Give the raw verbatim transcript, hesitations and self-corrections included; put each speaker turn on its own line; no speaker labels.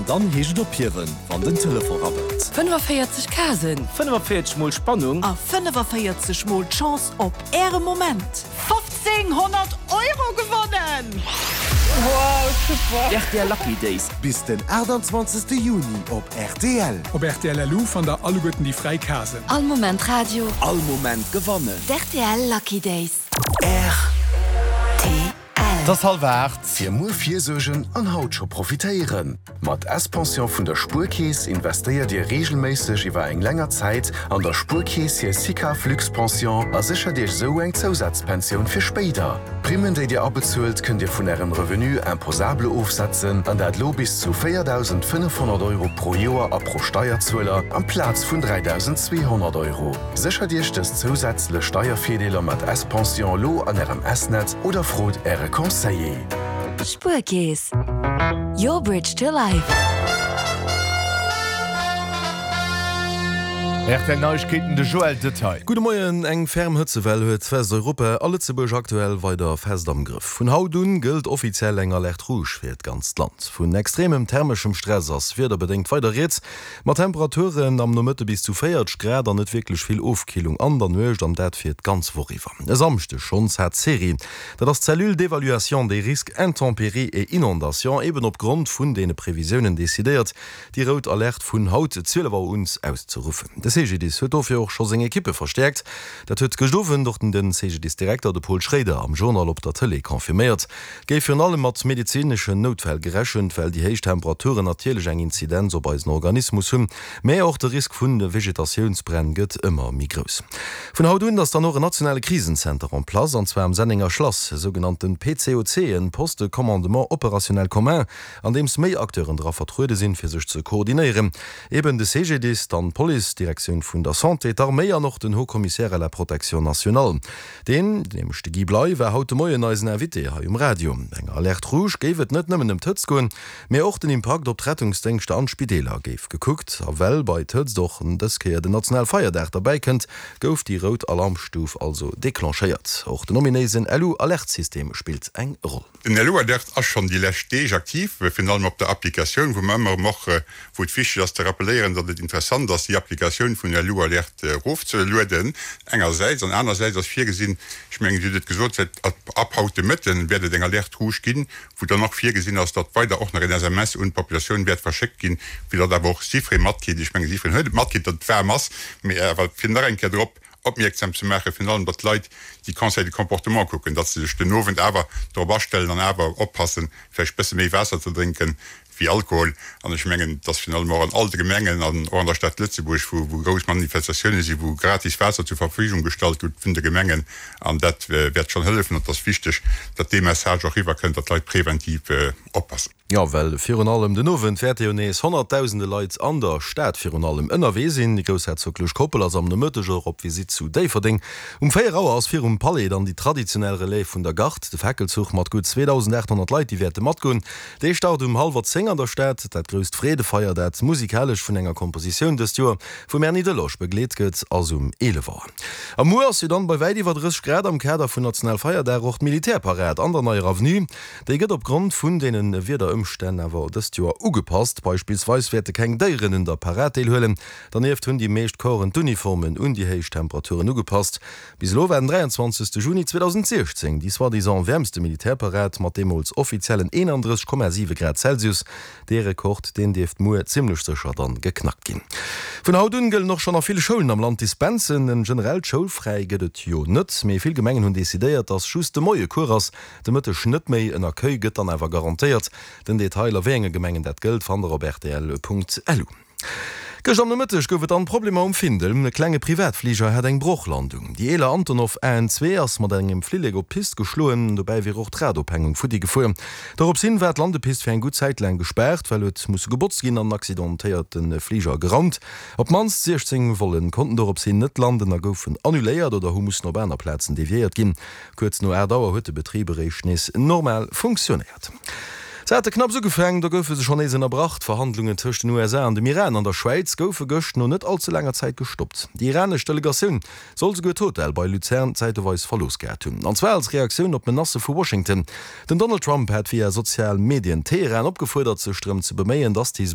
dann heescht et ophiewen, wann den Telefon rabbelt.
fënnefaféierzeg Casen.
Fënnefaféierzeg mol Spannung.
A fënnefaféierzeg mol d'Chance op äre Moment.
fofzénghonnert Euro gewonnen!
Wow, super!
R T L Lucky Days.
Bis den aachtanzwanzegste Juni op R T L.
Op R T L L U fannt der alleguerten déi fräi Casen.
All Moment Radio.
All Moment gewannen.
D' R T L Lucky Days.
R T L.
Et ass hallwer aacht.
Fir muer virsuergen an haut scho profitéieren. Mat S-Pension vun der Spuerkeess investéiert Dir reegelméisseg iwwer eng länger Zäit an der Spuerkeess hir SICAV Luxpension a séchert Iech esou eng Zousazpensioun fir spéider. D'Primmen, déi Dir abezuelt, kënnt Dir vun Ärem Revenu imposable ofsetzen, an dat lo bis zu véierdausendfënnefhonnert Euro pro Joer a pro Steierzueler amplaz vun dräidausendzweehonnert Euro. Séchert Iech dës zousätzlech Steiervirdeeler mat S-Pension lo an Ärem S-Net oder frot Äre Conseiller.
Spuerkeess. Your bridge to life.
R T L Neiegkeeten, de Joël Detail.
Gudde Moien, Eng ferm Hëtzewell huet Westeuropa a Lëtzebuerg aktuell weider fest am Grëff. Vun haut un gëllt offiziell eng Alerte rouge fir d'ganzt Land. Vun extremem thermeschem Stress ass wiederbedéngt weider rieds, mat Temperaturen am Nomëtte bis zu véierzeg Grad an net wierklech vill Ofkillung an der Nuecht, an dat fir d'ganz Woch iwwer. E Samschdeg schonns hat d'CERI, dat ass d'Cellule d'évaluation des risques intempéries et inondations, eben opgrond vun deene Previsiounen decidéiert, déi rout Alerte vun haut zwielef Auer un auszeruffen. De C G D I S huet dofir och scho seng Ekippe verstäerkt. Dat huet gëscht Owend och den C G D I S-Direkter, de Paul Schrader, am Journal op der Tëlee confirméiert. Et géif virun allem mat medezineschen Noutfäll gerechent, well déi héich Temperaturen natierlech eng Inzidenz op eisen Organismus hunn. Mä och de Risk vun Vegetatiounsbränn gëtt ëmmer méi grouss. Vun haut un ass dann och en nationale Krisenzenter en place, an zwar am Sennenger Schlass, e sougenannte P C O C, en Poste de commandement opérationnel commun, an deems méi Acteuren dra vertruede sinn, fir sech ze koordinéieren. Eben de C G D I S, dann d'Police, d'Direktioun vun der Santé, d'Arméi an och den Haut-Commissaire à la protection nationale. Deen, nämlech de Guy Bley, war haut de Moien eisen Invité hei um Radio. Bei enger Alerte rouge géif et net nëmmen ëm d'Hëtzt goen, mee och den Impakt op d'Rettungsdéngschter an d'Spideeler géif gekuckt. A well bei d'Hëtzt och dës Kéier den Nationalfeierdag derbäi kënnt, gouf déi rout Alarmstuf also declenchéiert. Och den ominéisen L U-Alertsystem spillt eng Roll.
Den L U-Alert ass schonn déi lescht Deeg aktiv, virun allem op der Applikatioun, wou mer ëmmer erëm och, wou et wichteg ass ze rappelléieren, datt et interessant ass, déi Applikatioun vun L U-Alert erofzelueden engersäits, an anersäits ass virgesinn, ech mengen, Dir hutt et gesot, säit ab haut de Mëtten wäert et eng Alerte rouge ginn, wou dann och virgesinn ass, datt weider och nach en S M S un d'Populatioun wäert verschéckt ginn, fir datt awer och jiddweree matkritt, ech mengen, jiddwereen huet et matkritt, datt et waarm ass, mee awer fir nach eng Kéier drop opmierksam ze maachen, virun allem datt d'Leit déi Conseils de comportement kucken, datt se sech den Owend awer drop astellen an awer oppassen, vläicht bësse méi Waasser ze drénken wéi Alkohol. An ech mengen, datt virun allem och an all de Gemengen an och an der Stad Lëtzebuerg, wou wou grouss Manifestatioune sinn, wou gratis Waasser zur Verfügung gestallt gëtt vun de Gemengen, an dat wäert schonn hëllefen. An et ass wichteg, datt dee Message och eriwwerkënnt, datt d'Leit preventiv oppassen.
Jo, well virun allem den Owend wäerte jo nees honnertdausende Leit an der Stad virun allem ënnerwee sinn. Déi groussherzoglech Koppel ass am Nomëtteg och op Visitt zu Déifferdeng. Um véier Auer ass virum Palais dann déi traditionell Relève vun der Garde, de Fackelzuch mat gutt zweedausendaathonnert Leit, déi wäerte matgoen. Dee start um hallwer zéng an der Stad. Dat grousst Freedefeier, dat musikalesch vun enger Kompositioun dëst Joer vum Erny Delosch begleet gëtt, ass um eelef Auer. A muer ass jo dann bei wäit iwwer drësseg Grad am Kader vun Nationalfeierdag och d'Militärparad an der Neier Avenue. Déi gëtt opgrond vun deene Wiederëmstänn awer dëst Joer ugepasst. Beispillsweis wäerte keng Déieren un der Parad deelhuelen. Dernieft hunn déi meescht Corpsen d'Uniformen un déi héich Temperaturen ugepasst. Bis elo war den dräianzwanzegste Juni zweedausendsiechzéng déi soi-disant wäermste Militärparad mat deemools offiziellen eenandrësseg Komma siwe Grad Celsius. Dee Rekord, deen dierft muer zimmlech sécher dann geknackt ginn. Vun haut un gëllen och schonn a ville Schoulen am Land Dispensen. En generellt Schoulfräi gëtt et jo net, mee vill Gemengen hunn decidéiert, dass just de Moie Cours ass, de Mëtteg net méi. En Accueil gëtt dann awer garantéiert. Den Detail a wéi enge Gemengen dat gëllt, fannt der op rtl Punkt L U. Gëscht am Nomëtteg gouf et dann Problemer um Findel. E klenge Privatfliger hat eng Brochlandung. Déi eeler Antonov A N zwee ass mat engem Flillek op d'Pist geschloen, dobäi wier och d'Radophängung futti gefuer. Dorops hin war d'Landepist fir eng gutt Zäit laang gespaart, well huet musse gebotzt ginn an den accidentéierte Fliger geraumt. Op d'mannst siechzéng Vollen konnten dorops hin net landen a goufen annuléiert oder hu mussen op aner Plazen deviéiert ginn. Kuerz no aacht Auer huet de Betrib eréischt nees normal funktionéiert. Se hate knapps ugefaangen, do goufe se schonn nees ënnerbrach. D'Verhandlungen tëscht den U S A an dem Iran an der Schwäiz goufe gëscht no net all ze laanger Zäit gestoppt. Déi iranesch Delegatioun soll souguer d'Hotel bei Luzern zäiteweis verlooss gehat hunn, an zwar als Reaktioun op Menacë vu Washington. Den Donald Trump hat via sozial Medien Teheran opgefuerdert, sech drëm ze beméien, datt